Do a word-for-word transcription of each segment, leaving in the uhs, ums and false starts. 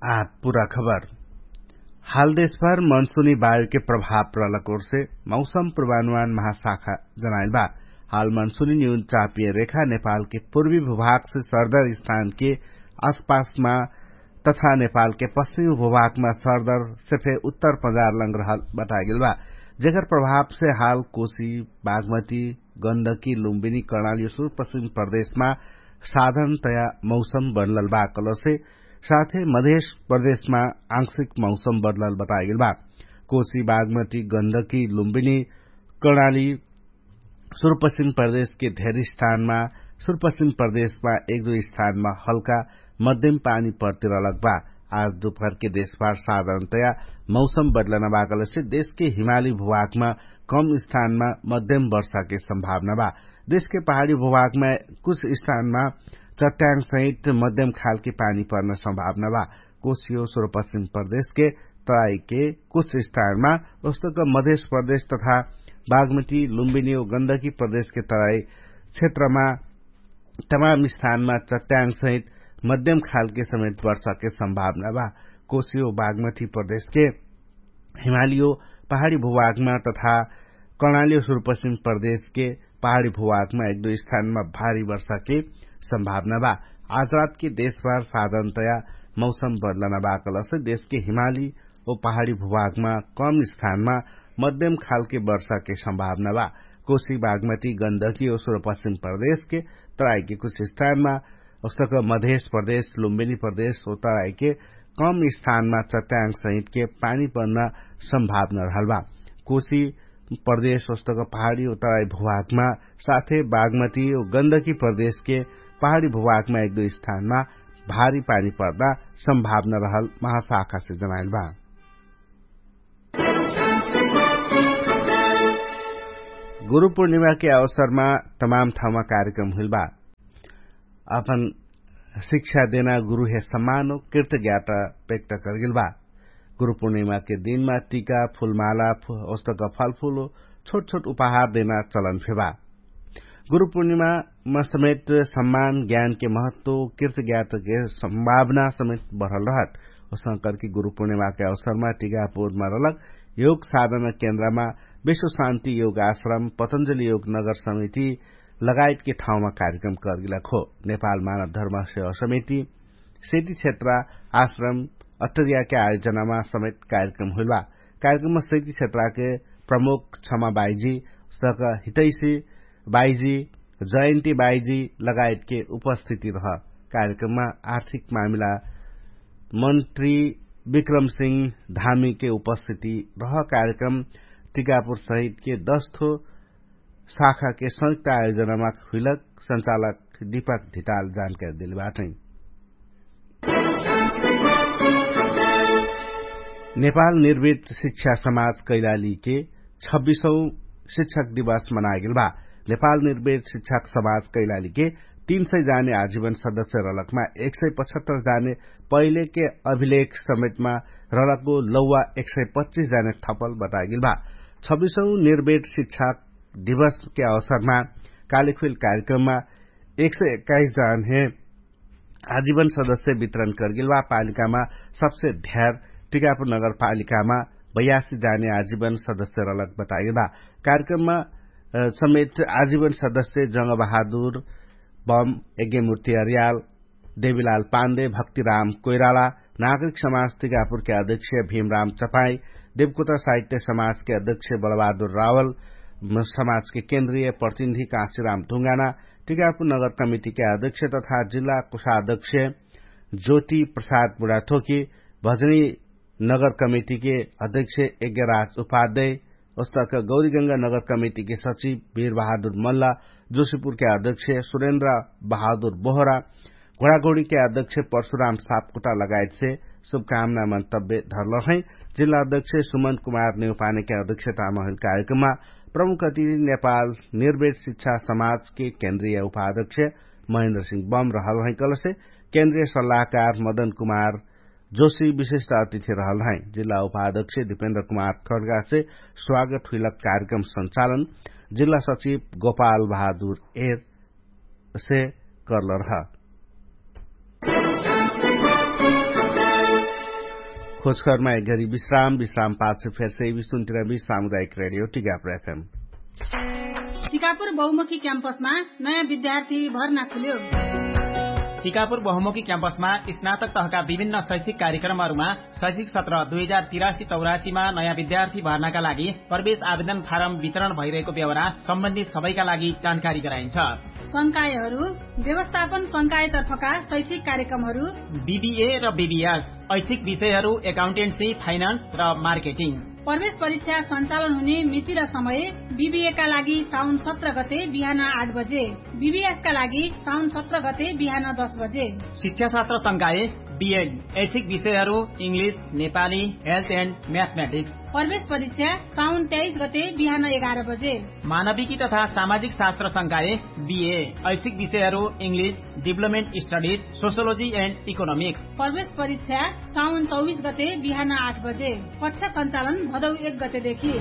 आ पुरा खबर। हाल देशभर मनसुनी बायुके प्रभाव प्रलक ओरसे मौसम प्रभानुमान महाशाखा जनाइल बा। हाल मनसुनी न्यून चापिय रेखा नेपालके पूर्वी भुभागसे सरदर स्थानके आसपासमा तथा नेपालके पश्चिमी भुभागमा सरदरसे फे उत्तर पजार लंग रहल बतागेल बा, जेकर प्रभावसे हाल कोशी, बागमती, गन्धकी लुम्बिनी कर्णाली सुरपश्चिम प्रदेशमा साधारणतया मौसम बनलल बा कलसे साथे मधेश प्रदेशमा आंशिक मौसम बनलल बतागेल बा। कोशी, बागमती, गन्धकी लुम्बिनी कर्णाली सुरपश्चिम प्रदेशके धेर स्थानमा सुरपश्चिम प्रदेशमा एक दुई स्थानमा हल्का मध्यम पानी पर्तिरलक बा। आज दुपहरके देशभर साधारणतया मौसम बदलना बा कलसे देशके हिमाली भुभागमा कम स्थानमा मध्यम वर्षाके सम्भावना बा। देशके पहाडी भुभागमा कुछ स्थानमा चट्याङ सहित मध्यम खालके पानी पर्न सम्भावना बा। कोसियो सुरपश्चिम प्रदेशके तराईके कुछ स्थानमा उस्तक मधेश प्रदेश तथा बागमती लुम्बिनी ओ गन्धकी प्रदेशके तराई क्षेत्रमा तमाम स्थानमा चट्याङ सहित मध्यम खालके समेत वर्षाके सम्भावना बा। कोसियो बागमती प्रदेशके हिमालियो पहाडी भुभागमा तथा कर्णालियो सुरपश्चिम प्रदेशके पहाडी भुभागमा एक दुई स्थानमा भारी वर्षाके सम्भावना बा। आज रातके देशभर साधारणतया मौसम बदलना बा कलसे देशके हिमाली ओ पहाडी भुभागमा कम स्थानमा मध्यम खालके वर्षाके सम्भावना बा। कोशी बागमती गन्धकी ओ सुरपश्चिम प्रदेशके तराईके कुछ स्थानमा उस्तक मधेश प्रदेश लुम्बिनी प्रदेश ओ तराईके कम स्थानमा चट्याङ सहितके पानी पर्न सम्भावना रहल बा। कोशी प्रदेश उस्तक पहाडी ओ तराई भुभागमा साथे बागमती ओ गन्धकी प्रदेशके पहाडी भुभागमा एक दुई स्थानमा भारी पानी पर्दा सम्भावना रहल महाशाखासे जनाइल बा। गुरु पूर्णिमाके अवसरमा तमाम ठाउँमा कार्यक्रम हुइल बा। अपन शिक्षा देना गुरुहे सम्मान ओ कृतज्ञाता व्यक्त करगेल बा। गुरु पूर्णिमाके दिनमा टिका फुलमाला ओस्तक फलफुल ओ छोट छोट उपहार देना चलन फेबा। गुरु पूर्णिमामा समेत सम्मान ज्ञानके महत्व कृतज्ञाताके सम्भावना समेत बढ़ल रहत। ओसंकरके गुरु पूर्णिमाके अवसरमा टिकापुरमा रहलक योग साधना केन्द्रमा विश्व शान्ति योग आश्रम पतंजली योग नगर समिति लगायतके ठाउँमा कार्यक्रम करगेलक हो। नेपाल मानव धर्म सेवा समिति सेती क्षेत्र आश्रम अट्टरियाके आयोजनामा समेत कार्यक्रम हुइल बा। कार्यक्रममा सेती क्षेत्रके प्रमुख क्षमा बाइजी सक हितैसी बाइजी जयन्ती बाइजी लगायतके उपस्थिति रह। कार्यक्रममा आर्थिक मामिला मन्त्री विक्रम सिंह धामीके उपस्थिति रह। कार्यक्रम टिकापुर सहितके दस थो शाखाके संयुक्त आयोजनामा हुइलक संचालक दीपक धिताल जानकारी देले बाटै। नेपाल निर्वित शिक्षा समाज कैलालीके छब्बिसौँ शिक्षक दिवस मनागेल बा। नेपाल निर्वित शिक्षक समाज कैलालीके तीन सय जाने आजीवन सदस्य रहलकमा एक सय पचहत्तर जाने पहिलेके अभिलेख समेतमा रहलको लौवा एक सय पच्चिस जाने थपल बतागेल बा। छब्बिसौँ निर्वित शिक्षक दिवसके अवसरमा कालिखुइल कार्यक्रममा एक सय एक्काइस जाने आजीवन सदस्य वितरण करगेल बा। पालिकामा सबसे ध्यार टिकापुर नगरपालिकामा बयासी जाने आजीवन सदस्य रहलक बतागेल बा। कार्यक्रममा समेत आजीवन सदस्य जंगबहादुर बम यज्ञमूर्ति अर्याल देवीलाल पाण्डे भक्तिराम कोइराला नागरिक समाज टिकापुरके अध्यक्ष भीमराम चपाई देवकोटा साहित्य समाजके अध्यक्ष बलबहादुर रावल समाजके केन्द्रीय प्रतिनिधि काँसिराम ढुङ्गाना टिकापुर नगर कमिटिके अध्यक्ष तथा जिल्ला कोषाध्यक्ष ज्योति प्रसाद बुढाथोकी भजनी नगर कमिटिके अध्यक्ष यज्ञराज उपाध्याय ओस्तक गौरीगंगा नगर कमिटिके सचिव वीरबहादुर मल्ला जोशीपुरके अध्यक्ष सुरेन्द्र बहादुर बोहरा घोडाघोडीके अध्यक्ष परशुराम सापकोटा लगायतसे शुभकामना मन्तव्य धरलहै। जिल्ला अध्यक्ष सुमन कुमार नेउपानेके अध्यक्षतामा हुइल कार्यक्रममा प्रमुख अतिथि नेपाल निर्वेट शिक्षा समाजके केन्द्रीय उपाध्यक्ष महेन्द्र सिंह बम रहलहै कलसे केन्द्रीय सल्लाहकार मदन कुमार जोशी विशिष्ट अतिथि रहलहै। जिल्ला उपाध्यक्ष दिपेन्द्र कुमार खड्गासे स्वागत हुइलक कार्यक्रम संचालन जिल्ला सचिव गोपाल बहादुर एरसे करलरह। खोजखबरमा एक घरी विश्राम विश्राम पाछ फेरसे विष्णुन्तिरबी सामुदायिक रेडियो टिकापुर एफएम। टिकापुर बहुमुखी क्याम्पसमा नयाँ विद्यार्थी भर्ना खुल्यो। टिकापुर बहुमुखी क्याम्पसमा स्नातक तहका विभिन्न शैक्षिक कार्यक्रमहरूमा शैक्षिक सत्र दुई हजार तिरासी चौरासीमा नयाँ विद्यार्थी भर्नाका लागि प्रवेश आवेदन फारम वितरण भइरहेको बेहोरा सम्बन्धित सबैका लागि जानकारी गराइन्छ। संकायहरू व्यवस्थापन संकायतर्फका शैक्षिक कार्यक्रमहरू बिबिए र बिबिएस, ऐच्छिक विषयहरू एकाउन्टेन्सी, फाइनान्स र मार्केटिङ। प्रवेश परीक्षा सञ्चालन हुने मिति र समय बिबिएका लागि साउन सत्र गते बिहान आठ बजे, बिबिएसका लागि साउन सत्र गते बिहान दस बजे। शिक्षाशास्त्र संकाय बिएड, ऐच्छिक विषयहरू इङ्ग्लिस, नेपाली, हेल्थ एन्ड म्याथमेटिक्स। प्रवेश परीक्षा साउन तेइस गते बिहान एघार बजे। मानविकी तथा सामाजिक शास्त्र संकाय बिए, ऐच्छिक विषयहरू इङ्ग्लिस, डिभलपमेन्ट स्टडिज, सोसियोलोजी एन्ड इकोनोमिक्स। प्रवेश परीक्षा साउन चौबिस गते बिहान आठ बजे। कक्षा सञ्चालन भदौ एक गतेदेखि।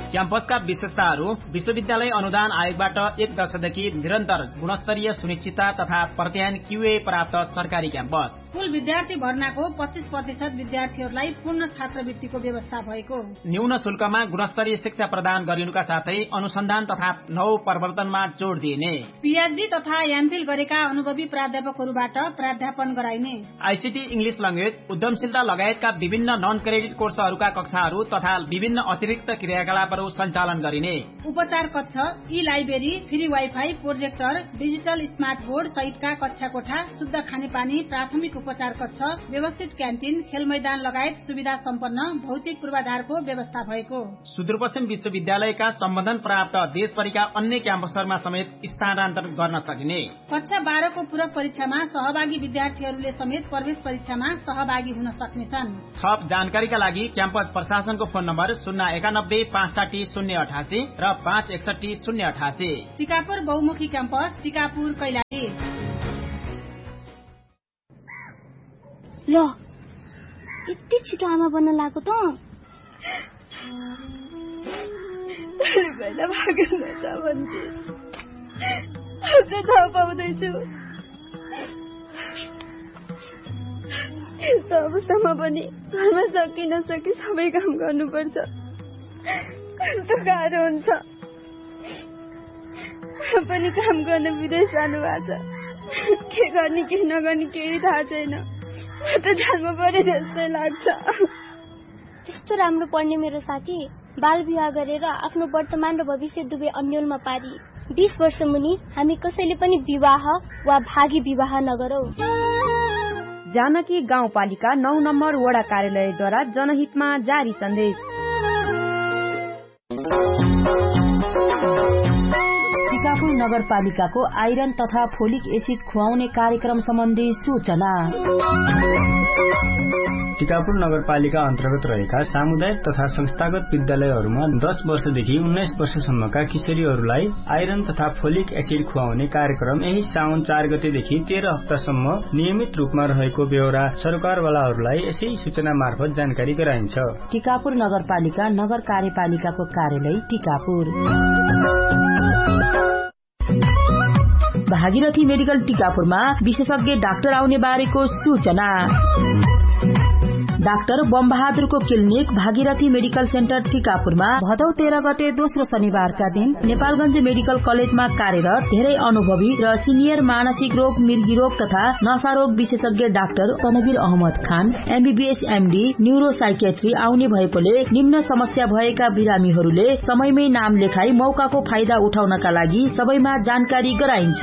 क्याम्पसका विशेषताहरू विश्वविद्यालय अनुदान आयोगबाट एक दशकदेखि निरन्तर गुणस्तरीय सुनिश्चितता तथा प्रत्यायन क्युए प्राप्त सरकारी क्याम्पस। कुल विद्यार्थी भर्नाको पच्चिस प्रतिशत विद्यार्थीहरूलाई पूर्ण छात्रवृत्तिको व्यवस्था भएको। न्यून शुल्कमा गुणस्तरीय शिक्षा प्रदान गरिनुका साथै अनुसन्धान तथा नौ प्रवर्तनमा जोड दिइने। पिएचडी तथा एमफिल गरेका अनुभवी प्राध्यापकहरूबाट प्राध्यापन गराइने। आइसिटी, इङ्ग्लिस ल्याङ्ग्वेज, उद्यमशीलता लगायतका विभिन्न नन क्रेडिट कोर्सहरूका कक्षाहरू तथा विभिन्न अतिरिक्त क्रियाकलापहरू सञ्चालन गरिने। उपचार कक्ष, ई library, free wifi, projector, digital smart board सहितका कक्षा कोठा, शुद्ध खानेपानी, प्राथमिक उपचार कक्ष, व्यवस्थित क्यान्टिन, खेलमैदान लगायत सुविधा सम्पन्न भौतिक पूर्वाधारको व्यवस्था भएको। सुदूरपश्चिम विश्वविद्यालयका सम्बन्धन प्राप्त देशभरिका अन्य क्याम्पसहरूमा समेत स्थानान्तरण गर्न सकिने। कक्षा बाह्रको पूरक परीक्षामा सहभागी विद्यार्थीहरूले समेत प्रवेश परीक्षामा सहभागी हुन सक्नेछन्। थप जानकारीका लागि क्याम्पस प्रशासनको फोन नम्बर शून्य एकानब्बे पाँच साठी शून्य अठासी र पाँच एकसट्ठी शून्य अठासी। टिकापुर बहुमुखी क्याम्पस, टिकापुर कैलाली। ल, यति छिटो आमा बन्न लागेको त? अरे, पहिला भागेन त भन्थे। अब चाहिँ थाहा पाउँदैछु। यस्तो अवस्थामा पनि घरमा सकि नसकि सबै काम गर्नुपर्छ। कस्तो गाह्रो हुन्छ। पनि काम गर्न विदेश जानुभएको छ। के गर्ने, के नगर्ने, केही थाहा छैन। म त जान्नु पर्यो जस्तै लाग्छ। त्यस्तो राम्रो पढ्ने मेरो साथी बाल विवाह गरेर आफ्नो वर्तमान र भविष्य दुवै अन्यलमा पारी। बिस वर्ष मुनि हामी कसैले पनि विवाह वा भागी विवाह नगरौँ। जानकी गाउँपालिका नौ नम्बर वडा कार्यालयद्वारा जनहितमा जारी सन्देश। टिकापुर नगरपालिकाको आइरन तथा फोलिक एसिड खुवाउने कार्यक्रम सम्बन्धी सूचना। टिकापुर नगरपालिका अन्तर्गत रहेका सामुदायिक तथा संस्थागत विद्यालयहरूमा दस वर्षदेखि उन्नाइस वर्षसम्मका किशोरीहरूलाई आइरन तथा फोलिक एसिड खुवाउने कार्यक्रम यही साउन चार गतेदेखि तेह्र हप्तासम्म नियमित रूपमा रहेको बेहोरा सरकारवालाहरूलाई यसै सूचना मार्फत जानकारी गराइन्छ। टिकापुर नगरपालिका नगर कार्यपालिकाको कार्यालय टिकापुर। भागीरथी मेडिकल टिकापुरमा विशेषज्ञ डाक्टर आउने बारेको सूचना। डाक्टर बमबहादुरको क्लिनिक भागीरथी मेडिकल सेन्टर टिकापुरमा भदौ तेह्र गते दोस्रो शनिबारका दिन नेपालगञ्ज मेडिकल कलेजमा कार्यरत धेरै अनुभवी र सिनियर मानसिक रोग, मिर्गी रोग तथा नशा रोग विशेषज्ञ डाक्टर तनवीर अहमद खान, एमबीबीएस एमडी, न्युरोसाइकेट्री आउने भएकोले निम्न समस्या भएका बिरामीहरूले समयमै नाम लेखाई मौकाको फाइदा उठाउनका लागि सबैमा जानकारी गराइन्छ।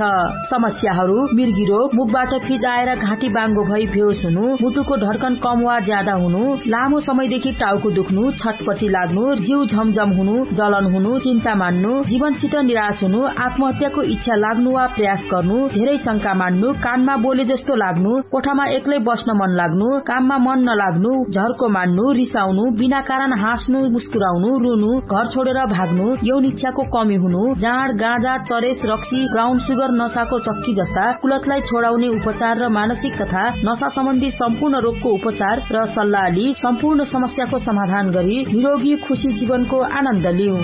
समस्याहरू मिर्गी रोग, मुखबाट फिजाएर घाँटी बाङ्गो भई बेहोस हुनु, मुटुको धड्कन कम वा ज्यादा हुनु, लामो समयदेखि टाउको दुख्नु, छटपटी लाग्नु, जिउ झमझम हुनु, जलन हुनु, चिन्ता मान्नु, जीवनसित निराश हुनु, आत्महत्याको इच्छा लाग्नु वा प्रयास गर्नु, धेरै शंका मान्नु, कानमा बोले जस्तो लाग्नु, कोठामा एक्लै बस्न मन लाग्नु, काममा मन नलाग्नु, झर्को मान्नु, रिसाउनु, बिना कारण हाँस्नु, मुस्कुराउनु, रुनु, घर छोडेर भाग्नु, यौन इच्छाको कमी हुनु, जाँड, गाँजा, चरेस, रक्सी, ब्राउन सुगर, नसाको चक्की जस्ता कुलतलाई छोडाउने उपचार र मानसिक तथा नसा सम्बन्धी सम्पूर्ण रोगको उपचार र सल्लाह लि सम्पूर्ण समस्याको समाधान गरी निरोगी खुशी जीवनको आनन्द लिऊ।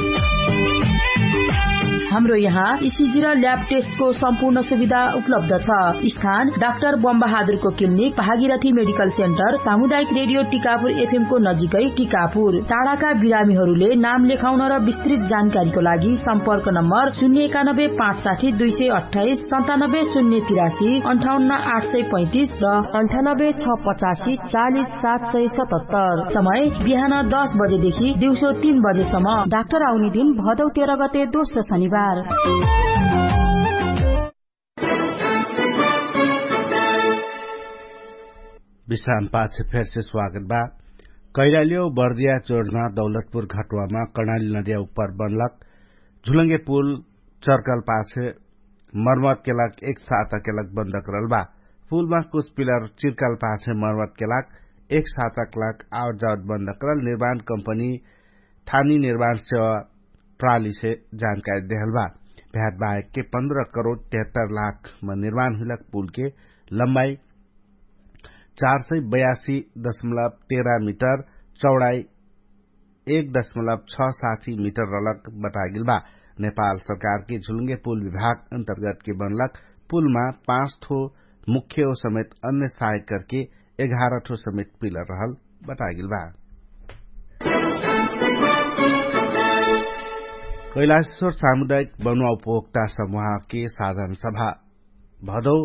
हाम्रो यहाँ इसिजी र ल्याब टेस्टको सम्पूर्ण सुविधा उपलब्ध छ। स्थान डाक्टर बमबहादुरको क्लिनिक, भागीरथी मेडिकल सेन्टर, सामुदायिक रेडियो टिकापुर एफएमको नजिकै टिकापुर। टाढाका बिरामीहरूले नाम लेखाउन र विस्तृत जानकारीको लागि सम्पर्क नम्बर शून्य एकानब्बे पाँच साठी दुई सय अट्ठाइस सन्तानब्बे शून्य तिरासी अन्ठाउन्न आठ सय पैँतिस र अन्ठानब्बे छ पचासी चालिस सात सय सतहत्तर। समय बिहान दस बजेदेखि दिउँसो तीन बजेसम्म। डाक्टर आउने दिन भदौ तेह्र गते दोस्रो शनिबार। विश्राम पाछे फेरसे स्वागत बा। कैलालियो बर्दिया चोर्ना दौलतपुर घटुवामा कर्णाली नदिया उपर बनलक झुलङ्गे पुल चर्कल पाछे मर्मत केलक एक साता केलक बन्द करल बा। पुलमा कुछ पिलर चिर्कल पाछे मर्मत केलक एक साता केलक आवत जावत बन्द करल निर्माण कम्पनी थानी निर्माण सेवा प्रालीसे जानकारी देहल बा। भ्याट बाहेकके पन्ध्र करोड तेहत्तर लाखमा निर्माण हुइलक पुलके लम्बाई चार सय बयासी दशमलब तेह्र मिटर, चौडाई एक दशमलब छ साठी मिटर रलक बतागेल बा। नेपाल सरकारके झुलुङ्गे पुल विभाग अन्तर्गतके बनलक पुलमा पाँच थो मुख्य हो समेत अन्य सहायक करके एघार थो समेत पिलर रहल बतागेल बा। कैलाशेश्वर सामुदायिक बनुवा उपभोक्ता समूहके साधारण सभा भदौ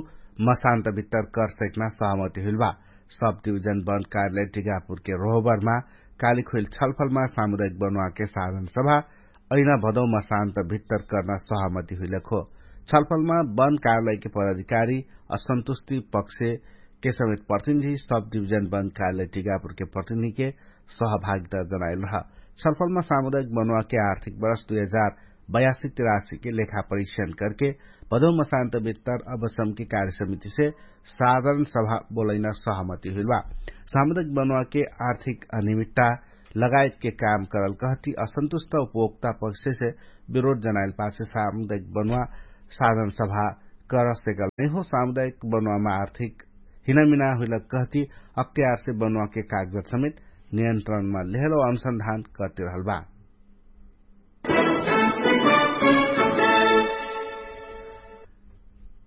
मसान्त भित्तर कर सैकना सहमति हुइल बा। सब डिभिजन बन्द कार्यालय टिकापुरके रोहबरमा कालिक हुइल छलफलमा सामुदायिक बनुवाके साधारण सभा अहिना भदौ मसान्त भित्तर कर्ना सहमति हुइलक हो। छलफलमा बन्द कार्यालयके पदाधिकारी असन्तुष्टि पक्षके समेत प्रतिनिधि सब डिभिजन बन्द कार्यालय टिकापुरके प्रतिनिधिके सहभागिता जनाइल रह। छलफलमा सामुदायिक बनुवाके आर्थिक वर्ष दुई हजार बयासी तिरासीके लेखा परीक्षण करके भदौ मसान्त भित्तर अवश्यमके कार्यसमितिसे साधारण सभा बोलैना सहमति हुइल बा। सामुदायिक बनुवाके आर्थिक अनियमित्ता लगायतके काम करल कहती असन्तुष्ट उपभोक्ता पक्षसे विरोध जनाइल पाछे सामुदायिक बनुवा साधारण सभा कर सेकल नैहो। सामुदायिक बनुवामा आर्थिक हिनामिना हुइलक कहती अख्तियारसे बनुवाके कागजत समेत नियन्त्रणमा लेहलो अनुसन्धान करती रहल बा।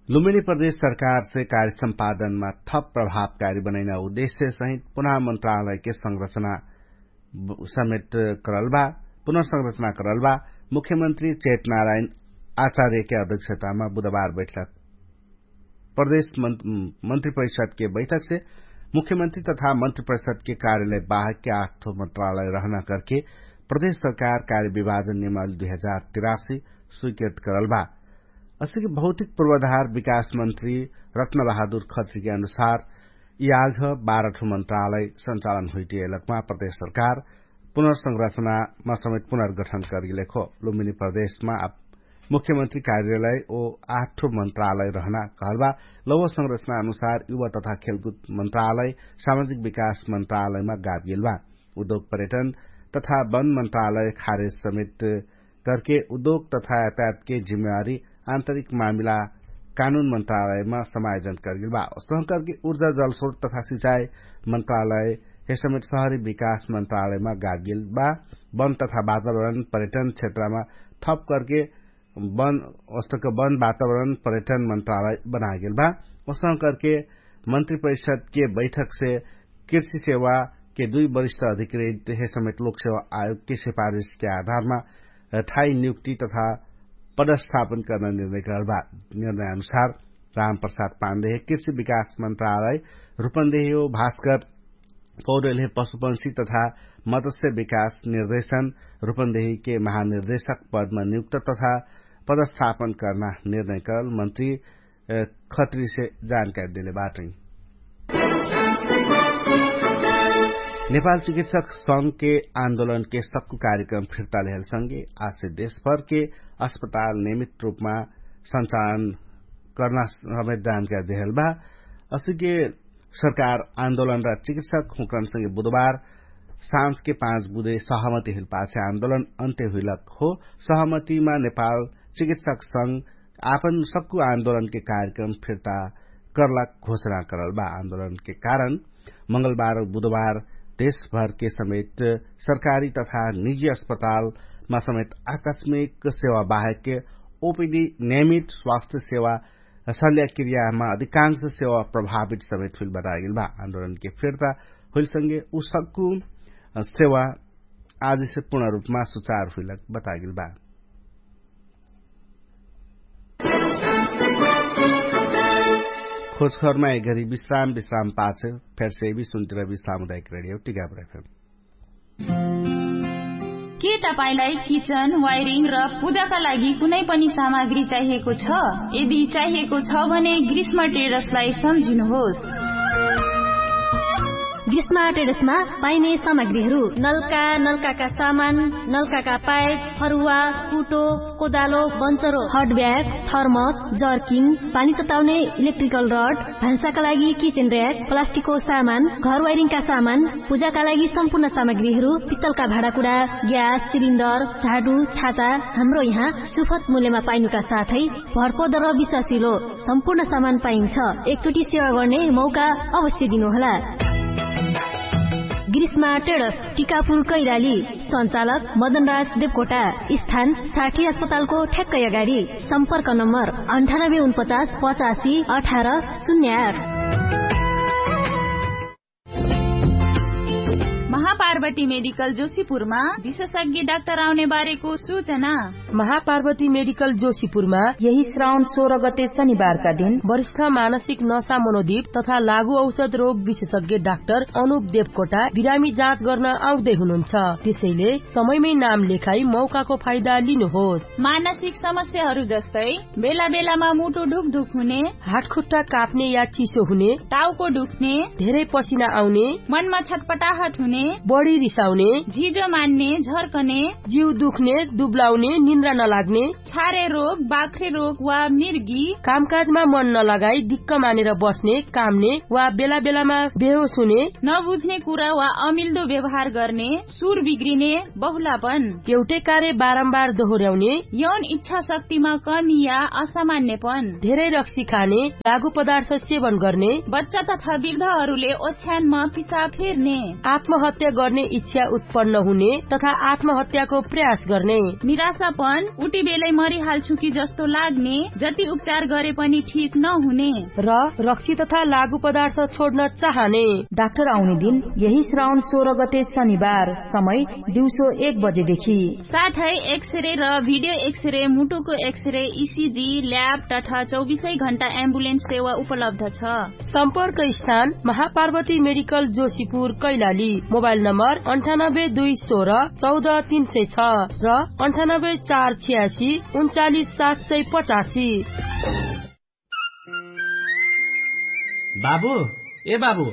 लुम्बिनी प्रदेश सरकारसे कार्य सम्पादनमा थप प्रभावकारी बनैना उद्देश्य सहित पुनः मन्त्रालयके संरचना समेत करल बा। पुनर्संरचना करल बा। मुख्यमन्त्री चेतनारायण आचार्यके अध्यक्षतामा बुधबार बैठक प्रदेश मन्त्रिपरिषदके बैठकसे मुख्यमन्त्री तथा मन्त्रिपरिषदके कार्यालय बाहेकके आठो मन्त्रालय रहना करके प्रदेश सरकार कार्य विभाजन नियमावली दुई हजार तिरासी स्वीकृत करल बा। असिके भौतिक पूर्वाधार विकास मन्त्री रत्न बहादुर खत्रीके अनुसार याघ बाह्र ठो मन्त्रालय सञ्चालन हुइटिएलकमा प्रदेश सरकार पुनर्संरचनामा समेत पुनर्गठन करिलेखो। लुम्बिनी प्रदेशमा मुख्यमन्त्री कार्यालय ओ आठ ठो मन्त्रालय रहना कहल बा। लौह संरचना अनुसार युवा तथा खेलकुद मन्त्रालय सामाजिक विकास मन्त्रालयमा गाबिएल बा। उद्योग पर्यटन तथा वन मन्त्रालय खारेज समेत करके उद्योग तथा यातायातके जिम्मेवारी आन्तरिक मामिला कानुन मन्त्रालयमा समायोजन करगेल बा। उस्तह करके उर्जा जलस्रोत तथा सिचाई मन्त्रालय हे समेत सहरी विकास मन्त्रालयमा गागेल बा। वन तथा वातावरण पर्यटन क्षेत्रमा थप करके वन उस्तक वन वातावरण पर्यटन मन्त्रालय बनागेल बा। उस्तह करके मन्त्रिपरिषदके बैठकसे कृषि सेवाके दुई वरिष्ठ अधिकृत हे समेत लोकसेवा आयोगके सिफारिसके आधारमा ठाई नियुक्ति तथा पदस्थापन कर्ना निर्णय करल बा। निर्णय अनुसार रामप्रसाद पाण्डे हे कृषि विकास मन्त्रालय रुपन्देही हो भास्कर कौरेल हे पशुपंशी तथा मत्स्य विकास निर्देशन रुपन्देहीके महानिर्देशक पदमा नियुक्त तथा पदस्थापन कर्ना निर्णय करल मन्त्री खत्रीसे जानकारी देले बाटै। नेपाल चिकित्सक संघके आन्दोलनके सक्कु कार्यक्रम फिर्ता लेहल संगे आसे देशभरके अस्पताल नियमित रूपमा सञ्चालन कर्ना समेत जानकारी देहल बा। असिके सरकार आन्दोलन र चिकित्सक हुँकन संगे बुधबार साँझके पाँच बुधे सहमति हुइल पाछे आन्दोलन अन्त्य हुइलक हो। सहमतिमा नेपाल चिकित्सक संघ आपन सक्कु आन्दोलनके कार्यक्रम फिर्ता कर्लक घोषणा करल बा। आन्दोलनके कारण मंगलबार बुधबार देशभरके समेत सरकारी तथा निजी अस्पतालमा समेत आकस्मिक सेवा बाहेकके ओपिडी नियमित स्वास्थ्य सेवा सल्याक्रियामा अधिकांश सेवा प्रभावित समेत हुइल बतागेल बा। आन्दोलनके फिर्ता हुइलसँगे उसक्कु सेवा आजसे पूर्ण रूपमा सुचार हुइलक बतागेल बा। खोजखबरमा एघरी विश्राम विश्राम पाछ फेर्से विश्वन्तिर विश्राम उदायक रेडियो टिकापुर एफएम। के तपाईंलाई किचन वायरिङ र पूजाका लागि कुनै पनि सामग्री चाहिएको छ? यदि चाहिएको छ भने ग्रीष्म ट्रेडर्सलाई सम्झिनुहोस्। ग्रीष्म ट्रेडर्समा पाइने सामग्रीहरू नल्का, नल्काका सामान, नल्काका पाइप, फरुवा, कुटो, कोदालो, बन्चरो, हट ब्याग, थर्मस, जर्किङ, पानी तताउने इलेक्ट्रिकल रड, भान्साका लागि किचेन र्याक, प्लास्टिकको सामान, घर वाइरिङका सामान, पूजाका लागि सम्पूर्ण सामग्रीहरू, पित्तलका भाँडाकुँडा, ग्यास सिलिन्डर, झाडु, छाता, हाम्रो यहाँ सुफत मूल्यमा पाइनुका साथै भरपर्दो र विश्वासिलो सम्पूर्ण सामान पाइन्छ। एकचोटि सेवा गर्ने मौका अवश्य दिनुहोला। ग्रीष्मा ट्रेडर्स, टिकापुर कैलाली। सञ्चालक मदनराज देवकोटा। स्थान साठी अस्पतालको ठ्याक्कै अगाडि। सम्पर्क नम्बर अन्ठानब्बे उनपचास पचासी अठार शून्य आठ। महापार्वती मेडिकल जोशीपुरमा विशेषज्ञ डाक्टर आउने बारेको सूचना। महापार्वती मेडिकल जोशीपुरमा यही श्रावण सोह्र गते शनिबारका दिन वरिष्ठ मानसिक नशा मनोदीप तथा लागु औषध रोग विशेषज्ञ डाक्टर अनुप देवकोटा बिरामी जाँच गर्न आउँदै हुनुहुन्छ। त्यसैले समयमै नाम लेखाई मौकाको फाइदा लिनुहोस्। मानसिक समस्याहरू जस्तै बेला बेलामा मुटु ढुकढुक हुने, हातखुट्टा काप्ने या चिसो हुने, टाउको दुख्ने, धेरै पसिना आउने, मनमा छटपटाहट हुने, बढी रिसाउने, झिजो मान्ने, झर्कने, जिउ दुख्ने, दुब्लाउने, निन्द्रा नलाग्ने, छारे रोग, बाख्रे रोग वा मिर्गी, कामकाजमा मन नलगाई दिक्क मानेर बस्ने, काम्ने वा बेला बेलामा बेहोस हुने, नबुझ्ने कुरा वा अमिल्दो व्यवहार गर्ने, सुर बिग्रिने, बहुलापन, एउटै कार्य बारम्बार दोहोर्‍याउने, यौन इच्छा शक्तिमा कमी या असामान्यपन, धेरै रक्सी खाने, लागु पदार्थ सेवन गर्ने, बच्चा तथा वृद्धहरूले ओछ्यानमा पिसा फेर्ने, आत्महत्या गर्ने इच्छा उत्पन्न हुने तथा आत्महत्याको प्रयास गर्ने, निराशापन, उटिबेलै मरिहाल्छु कि जस्तो लाग्ने, जति उपचार गरे पनि ठीक नहुने, र रक्सी तथा लागु पदार्थ छोड्न चाहने। डाक्टर आउने दिन यही श्रावण सोह्र गते शनिबार, समय दिउँसो एक बजेदेखि। साथै एक्सरे र भिडियो एक्सरे, मुटुको एक्सरे, इसिजी, ल्याब तथा चौबिसै घण्टा एम्बुलेन्स सेवा उपलब्ध छ। सम्पर्क स्थान महापार्वती मेडिकल जोशीपुर कैलाली। मोबाइल नम्बर अन्ठानब्बे दुई सोह्र चौध तीन सय छ र अन्ठानब्बे चार छ्यासी उन्चालिस सात सय पचासी। बाबु, ए बाबु,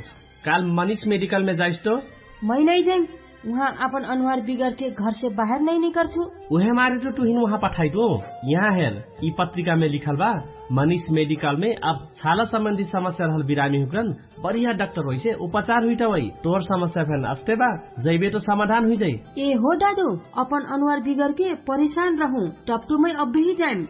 काल मनिष मेडिकलमे जाइस तो? मै नै जाइम। उहाँ आपन अनुहार बिगरके घरसे बाहेर नै निकर्छु। उहे मारे तो तुहिन उहाँ पठाइटु। यहाँ हेर, यि पत्रिकामे लिखल बा, मनिष मेडिकलमे अब छाला सम्बन्धी समस्या रहल बिरामी हुक्रन बढिया डाक्टर होइसे उपचार हुइटवै। तोहर समस्या फेन अस्ते बा, जैबे तो समाधान हुइजै। ए हो दादु, अपन अनुहार बिगरके परेशान रहु, टपटुमै अब्बही जाइम।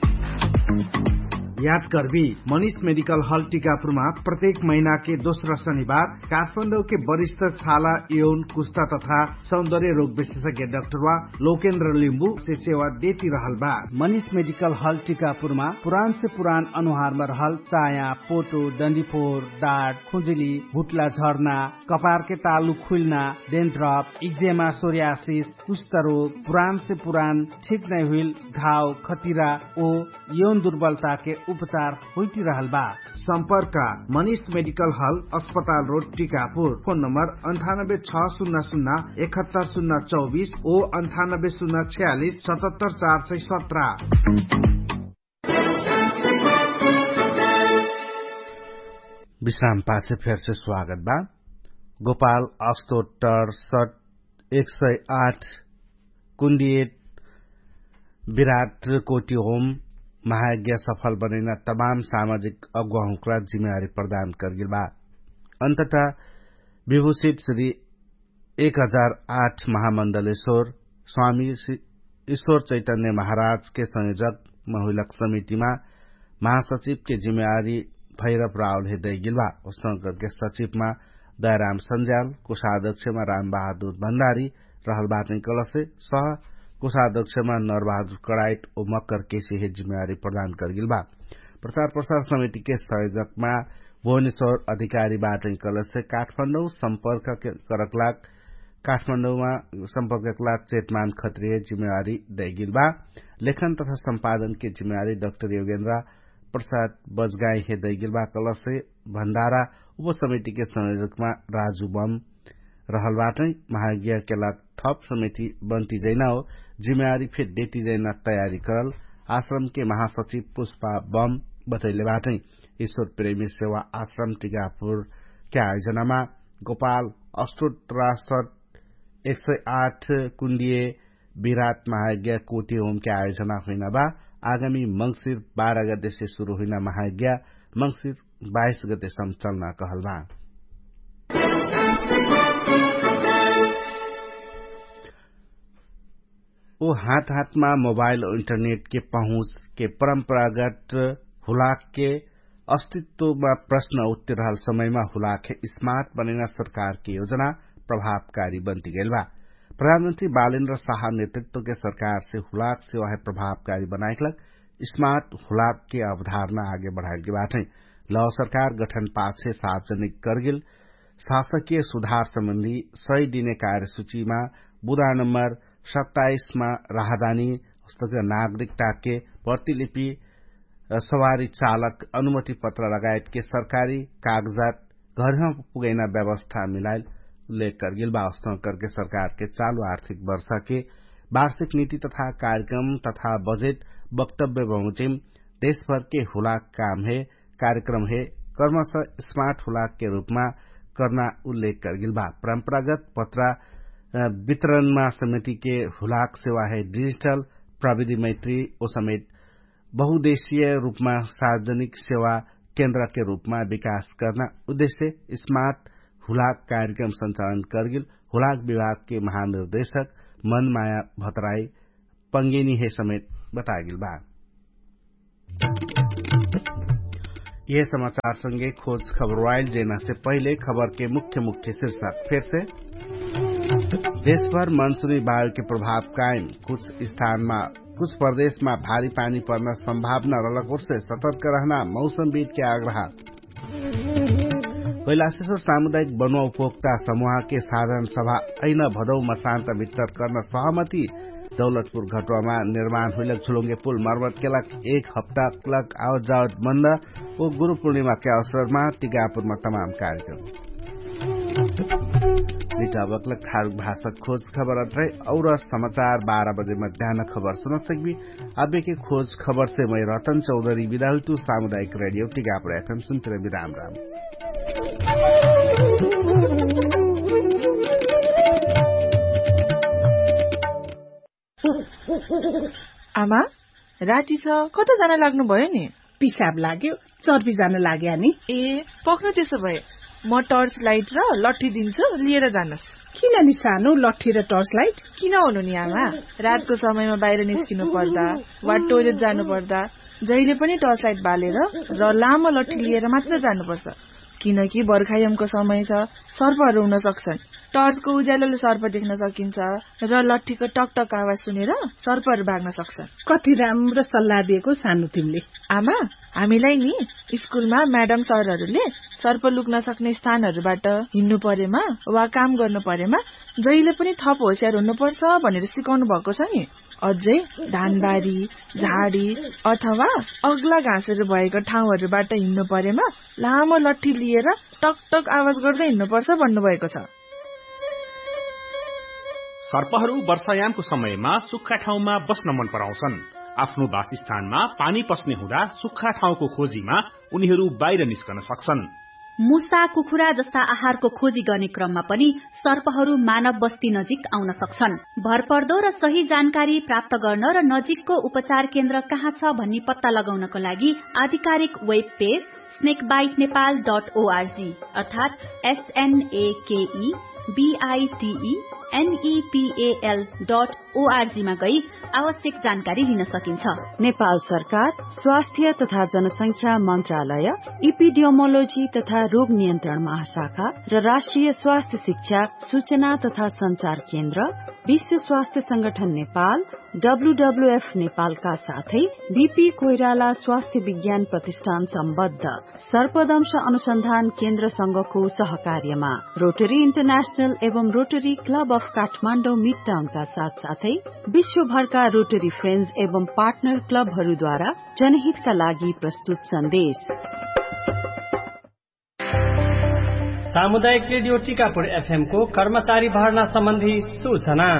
याद करबी, मनिष मेडिकल हल टिकापुरमा प्रत्येक महिनाके दोस्रा शनिबार काठमाडौके वरिष्ठ छाला, यौन, कुस्ता तथा सौन्दर्य रोग विशेषज्ञ डाक्टर वा लोकेन्द्र लिम्बु से सेवा देती रहल बा। मनिष मेडिकल हल टिकापुरमा पुरान से पुरान अनुहारमा रहल चाया, पोटो, डन्डीफोर, डाट, खुजुली, भुट्ला झर्ना, कपारके तालु खुइल्ना, डेन्ट्रप, इक्जेमा, सोरियासिस, कुष्ठरोग, पुरान से पुरान ठीक नै हुइल घाव, खतिरा ओ यौन दुर्बलताके उपचार होइटिरहल बा। सम्पर्क मनिष मेडिकल हल, अस्पताल रोड, टिकापुर। फोन नम्बर अन्ठानब्बे छ सुन्ना सुन्ना एकहत्तर सुन्ना चौबिस ओ अन्ठानब्बे सुन्ना छ्यालिस सतहत्तर चार सय सत्र। विश्राम पाछे फेरसे स्वागत बा। गोपाल अस्तोटर सट एक सय आठ कुन्डिएट विराट कोटि होम महायज्ञ सफल बनैना तमाम सामाजिक अगुवाहुँक्रा जिम्मेवारी प्रदान करगेल बा। अन्ततः विभूषित श्री एक हजार आठ महामण्डलेश्वर स्वामी ईश्वर चैतन्य महाराजके संयोजकमा हुइलक समितिमा महासचिवके जिम्मेवारी भैरव रावलहे दैगेल बा। उसनगरके सचिवमा दयाराम सन्ज्याल, कोषाध्यक्षमा रामबहादुर भण्डारी रहल बाटै कलसे सह कोषाध्यक्षमा नरबहादुर कडाइट ओ मकर केसी हे जिम्मेवारी प्रदान करगेल बा। प्रचार प्रसार समितिके संयोजकमा भुवनेश्वर अधिकारी बाटै कलसे काठमाडौं सम्पर्क करकलाग काठमाडौंमा सम्पर्ककलाग चेतमान खत्रिय जिम्मेवारी दैगेल बा। लेखन तथा सम्पादनके जिम्मेवारी डक्टर योगेन्द्र प्रसाद बजगाई हे दैगेल बा कलसे भण्डारा उपसमितिके संयोजकमा राजु बम रहल बाटै। महाज्ञा केला थप समिति बन्ती जैना हो जिम्मेवारी फेर देती जैना तयारी करल आश्रमके महासचिव पुष्पा बम बतैले बाटै। ईश्वर प्रेमी सेवा आश्रम टिकापुरके आयोजनामा गोपाल अष्टोत्रासत एक सय आठ कुण्डिय विराट महाज्ञा कोटी होमके आयोजना हुइना बा। आगामी मंगसिर बाह्र गतेसे सुरु हुइना महाज्ञा मंगसिर बाइस गतेसम चल्ना कहल बा। ओ हात हातमा मोबाइल इन्टरनेटके पहुँचके परम्परागत हुलाकके अस्तित्वमा प्रश्न उत्तिरहल समयमा हुलाकहे स्मार्ट बनैना सरकारके योजना प्रभावकारी बन्तिगेल बा। प्रधानमन्त्री बालेन्द्र साहा नेतृत्वके सरकारसे हुलाक सेवाहे प्रभावकारी बनाइकलक स्मार्ट हुलाकके अवधारणा आगे बढाइलके बाटै। लौ सरकार गठन पाछे सार्वजनिक करगेल शासकीय सुधार सम्बन्धी सही दिने कार्यसूचीमा बुधा नम्बर सत्ताइसमा राहदानी हस्तक नागरिकताके प्रतिलिपि सवारी चालक अनुमति पत्र लगायतके सरकारी कागजात घरमा पुगैना व्यवस्था मिलाइल उल्लेख करगेल बा। अस्तौं करके सरकारके चालु आर्थिक वर्षके वार्षिक नीति तथा कार्यक्रम तथा बजेट वक्तव्य बहुचिम देशभरके हुलाक कामहे कार्यक्रमहे कर्मस स्मार्ट हुलाकके रूपमा कर्ना उल्लेख करगेल बा। परम्परागत पत्रा वितरणमा समितिके हुलाक सेवाहे डिजिटल प्रविधि मैत्री ओ समेत बहुदेशीय रूपमा सार्वजनिक सेवा केन्द्रके रूपमा विकास कर्ना उद्देश्य स्मार्ट हुलाक कार्यक्रम सञ्चालन करगेल हुलाक विभागके महानिर्देशक मनमाया भतराई पंगेनी हे समेत बतागेल बा। यह समाचार संगे खोज खबर वाइल जेना से पहिले खबर के मुख्य मुख्य शीर्षक फेर से। देशभर मनसुनी वायु के प्रभाव कायम, कुछ स्थानमा कुछ प्रदेशमा भारी पानी पर्न सम्भावना रहलक ओर्से सतर्क रहना मौसमविद के आग्रह। कैलाशेश्वर सामुदायिक बनुवा उपभोक्ता समुहाके साधारण सभा ऐन भदौमा शान्त भित्तर कर्न सहमति। दौलतपुर घटुवामा निर्माण हुइलक झुलुङ्गे पुल मर्मत केलक एक हप्ताक लक आवत जावत बन्द। ओ गुरुपूर्णिमाके अवसरमा टिकापुरमा तमाम कार्यक्रम। निटाबकलक थारुक भाषक खोज खबर अट्रै और समाचार बाह्र बजे मध्यान खबर सुनसकबी। अबेके खोज खबरसे मै रतन चौधरी बिदा हुइतु। सामुदायिक रेडियो टिकापुर एफएम सुन्तिरबी राम राम। आमा, राति छ, कता जान लाग्नुभयो नि? पिसाब लाग्यो। चर्पी जान लाग्या नि। ए, पक्नु त्यसो भए म टर्च लाइट र लट्ठी दिन्छु, लिएर जानुस्। किन नि सानो लट्ठी र टर्च लाइट? किन हुनु नि आमा? रातको समयमा बाहिर निस्किनु पर्दा वा टोइलेट जानु पर्दा जहिले पनि टर्च लाइट बालेर र लामो लट्ठी लिएर मात्र जानुपर्छ। किनकि बर्खायामको समय छ, सर्पहरू हुन सक्छन्। टर्चको उज्यालोले सर्प देख्न सकिन्छ र लट्ठीको टकटक आवाज सुनेर सर्पहरू भाग्न सक्छन्। कति राम्रो सल्लाह दिएको सानो तिमीले। आमा, हामीलाई नि स्कुलमा म्याडम सरहरूले सर्प लुक्न सक्ने स्थानहरूबाट हिँड्नु परेमा वा काम गर्नु परेमा जहिले पनि थप होसियार हुनुपर्छ भनेर सिकाउनु भएको छ नि। अझै धानबारी, झाडी अथवा अग्ला घाँसहरू भएको ठाउँहरूबाट हिँड्नु परेमा लामो लट्ठी लिएर टकटक आवाज गर्दै हिँड्नुपर्छ भन्नुभएको छ। सर्पहरू वर्षायामको समयमा सुक्खा ठाउँमा बस्न मन पराउँछन्। आफ्नो वासस्थानमा पानी पस्ने हुँदा सुक्खा ठाउँको खोजीमा उनीहरू बाहिर निस्कन सक्छन्। मुसा कुखुरा जस्ता आहारको खोजी गर्ने क्रममा पनि सर्पहरू मानव बस्ती नजिक आउन सक्छन्। भरपर्दो र सही जानकारी प्राप्त गर्न र नजिकको उपचार केन्द्र कहाँ छ भन्ने पत्ता लगाउनको लागि आधिकारिक वेब पेज स्नेकबाइट नेपाल डट ओआरजी अर्थात् एसएनएकेई बिआइटिई एनइपिएल डट ओआरजीमा गई आवश्यक जानकारी लिन सकिन्छ। नेपाल सरकार स्वास्थ्य तथा जनसंख्या मन्त्रालय, इपिडियोमोलोजी तथा रोग नियन्त्रण महाशाखा र राष्ट्रिय स्वास्थ्य शिक्षा, सूचना तथा सञ्चार केन्द्र, विश्व स्वास्थ्य संगठन नेपाल, डब्ल्युडब्ल्युएफ नेपालका साथै बिपी कोइराला स्वास्थ्य विज्ञान प्रतिष्ठान सम्बद्ध सर्पदंश अनुसन्धान केन्द्रसँगको सहकार्यमा रोटरी इन्टरनेशनल एवं रोटरी क्लब अफ काठमाडौँ मिडटाउनका साथसाथै विश्वभरका रोटरी फ्रेन्ड्स एवं पार्टनर क्लबहरूद्वारा जनहितका लागि प्रस्तुत सन्देश। सामुदायिक रेडियो टिकापुर एफएमको कर्मचारी भर्ना सम्बन्धी सूचना।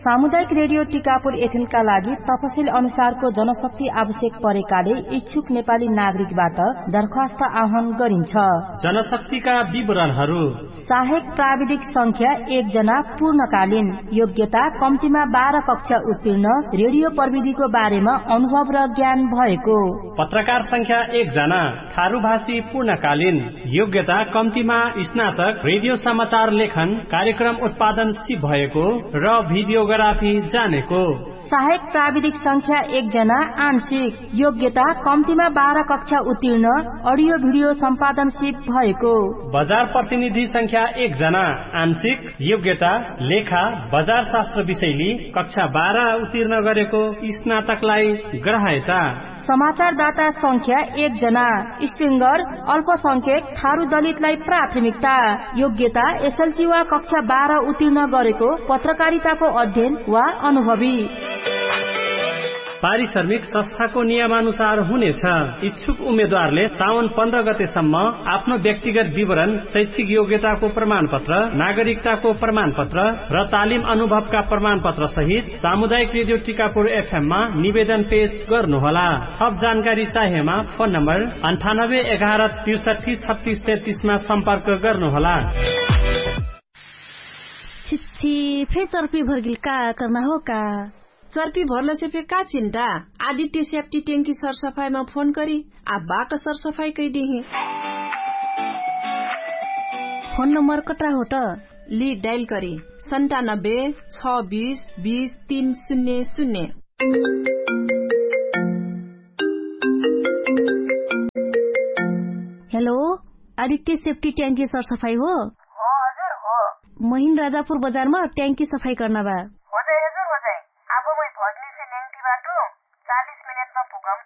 सामुदायिक रेडियो टिकापुर एफएमका लागि तपसिल अनुसारको जनशक्ति आवश्यक परेकाले इच्छुक नेपाली नागरिकबाट दरखास्त आह्वान गरिन्छ। जनशक्तिका विवरणहरू। सहायक प्राविधिक संख्या एक जना पूर्णकालीन, योग्यता कम्तीमा बाह्र कक्षा उत्तीर्ण, रेडियो प्रविधिको बारेमा अनुभव र ज्ञान भएको। पत्रकार संख्या एक जना, थारूभाषी पूर्णकालीन, योग्यता कम्तीमा स्नातक, रेडियो समाचार लेखन, कार्यक्रम उत्पादन सिप भएको र भिडियोग्राफी जानेको। सहायक प्राविधिक संख्या एक जना आंशिक, योग्यता कम्तीमा बाह्र कक्षा उत्तीर्ण, अडियो भिडियो सम्पादन सिप भएको। बजार प्रतिनिधि संख्या एक जना आंशिक, योग्यता लेखा बजार शास्त्र विषयली कक्षा बाह्र उत्तीर्ण गरेको स्नातकलाई ग्रहयता। समाचारदाता संख्या एक जना, स्ट्रिङ्गर, अल्पसंख्यक, थारू दलितलाई प्राथमिकता, योग्यता एसएलसी वा कक्षा बाह्र उत्तीर्ण गरेको पत्रकारिताको अध्ययन वा अनुभवी। पारिश्रमिक संस्थाको नियमानुसार हुनेछ। इच्छुक उम्मेद्वारले साउन पन्ध्र गतेसम्म आफ्नो व्यक्तिगत विवरण, शैक्षिक योग्यताको प्रमाणपत्र, नागरिकताको प्रमाणपत्र र तालिम अनुभवका प्रमाणपत्र सहित सामुदायिक रेडियो टिकापुर एफएममा निवेदन पेश गर्नुहोला। थप जानकारी चाहेमा फोन नम्बर अन्ठानब्बे एघार त्रिसठी छत्तिस तेत्तिसमा सम्पर्क गर्नुहोला। छिच्छी, फे चर्पी भर्गिल का कर्ना हो का? चर्पी भर्लसे फे का चिन्ता? आदित्य स्याप्टी ट्याङ्की सरसफाइमा फोन करी आ बाक सरसफाइ कैदिही। फोन नम्बर कट्रा हो त? लि डाइल करी सन्तानब्बे छ बिस बिस तीन शून्य शून्य। हेलो, आदित्य स्याप्टी ट्याङ्की सरसफाइ हो? महीन राजापुर बजारमा ट्याङ्की सफाइ कर्ना बा। होजै हजुर होजै। आबो मै भग्नीसे ल्याङ्टी बाटु। चालिस मिनेटमा पुगम।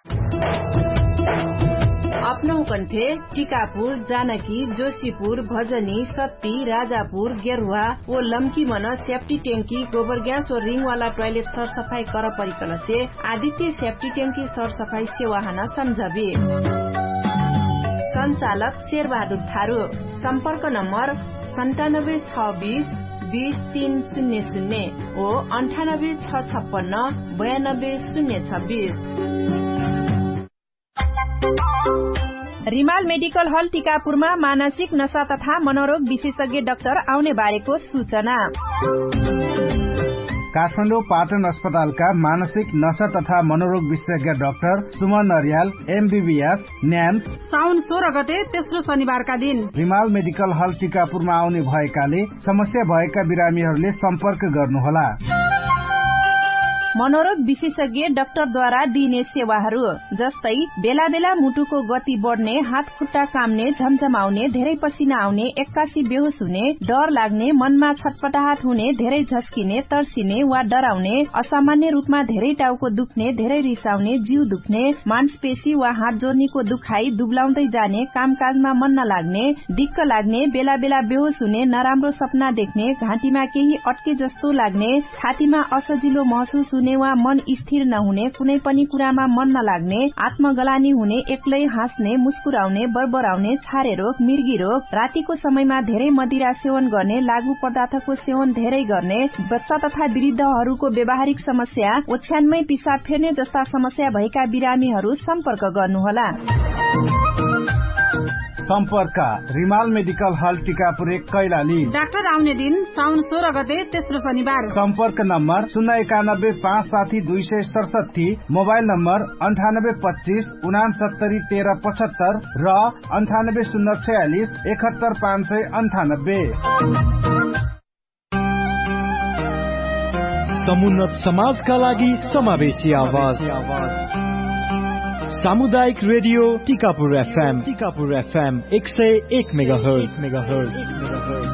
अपनहुकन फे टिकापुर, जानकी, जोशीपुर, भजनी, सत्ती, राजापुर, गेर्वा, ओ लम्की मन स्याप्टी ट्याङ्की, गोबरग्यास ओ रिङवाला ट्वाइलेट सरसफाइ कर परिकलसे आदित्य स्याप्टी ट्याङ्की सरसफाइ सेवाहन सम्झबी। सञ्चालक शेरबहादुर थारु। सम्पर्क नम्बर सन्तानब्बे छ बिस बिस तीन शून्य शून्य ओ अन्ठानब्बे छ छप्पन्न बयानब्बे शून्य छब्बिस। रिमाल मेडिकल हल टिकापुरमा मानसिक नशा तथा मनोरोग विशेषज्ञ डाक्टर आउने बारेको सूचना। काठमाडौँ पाटन अस्पतालका मानसिक नशा तथा मनोरोग विशेषज्ञ डाक्टर सुमन अर्याल एमबिबिएस न्याम्स साउन सोह्र गते तेस्रो शनिबारका दिन रिमाल मेडिकल हल टिकापुरमा आउने भएकाले समस्या भएका बिरामीहरूले सम्पर्क गर्नुहोला। मनोरोग विशेषज्ञ डाक्टरद्वारा दिइने सेवाहरू जस्तै बेला बेला मुटुको गति बढ्ने, हात खुट्टा काम्ने, झमझमाउने, धेरै पसिना आउने, एक्कासी बेहोस हुने, डर लाग्ने, मनमा छटपटाहट हुने, धेरै झस्किने, तर्सिने वा डराउने, असामान्य रूपमा धेरै टाउको दुख्ने, धेरै रिसाउने, जिउ दुख्ने, मांसपेशी वा हात जोर्नीको दुखाइ, दुब्लाउँदै जाने, कामकाजमा मन नलाग्ने, दिक्क लाग्ने, बेला बेला बेहोस हुने, नराम्रो सपना देख्ने, घाँटीमा केही अट्के जस्तो लाग्ने, छातीमा असजिलो महसुस हुने वा मन स्थिर नहुने, कुनै पनि कुरामा मन नलाग्ने, आत्मगलानी हुने, एक्लै हाँस्ने, मुस्कुराउने, बरबराउने, छारे रोग, मिर्गी रोग, रातिको समयमा धेरै मदिरा सेवन गर्ने, लागु पदार्थको सेवन धेरै गर्ने, बच्चा तथा वृद्धहरूको व्यावहारिक समस्या, ओछ्यानमै पिसाब फेर्ने जस्ता समस्या भएका बिरामीहरू सम्पर्क गर्नुहोला। सम्पर्क रिमाल मेडिकल हल टिकापुर एक कैलाली। डाक्टर आउने दिन साउन सोह्र गते तेस्रो शनिबार। सम्पर्क नम्बर शून्य एकानब्बे पाँच साठी दुई सय सडसठी, मोबाइल नम्बर अन्ठानब्बे पच्चिस उनासत्तरी तेह्र पचहत्तर र अन्ठानब्बे शून्य छयालिस एकहत्तर पाँच सय अन्ठानब्बे। समुन्नत समाजका लागि समावेशी आवाज। सामुदायिक रेडियो टिकापुर एफएम टिकापुर एफएम एक सय एक मेगाहर्ज।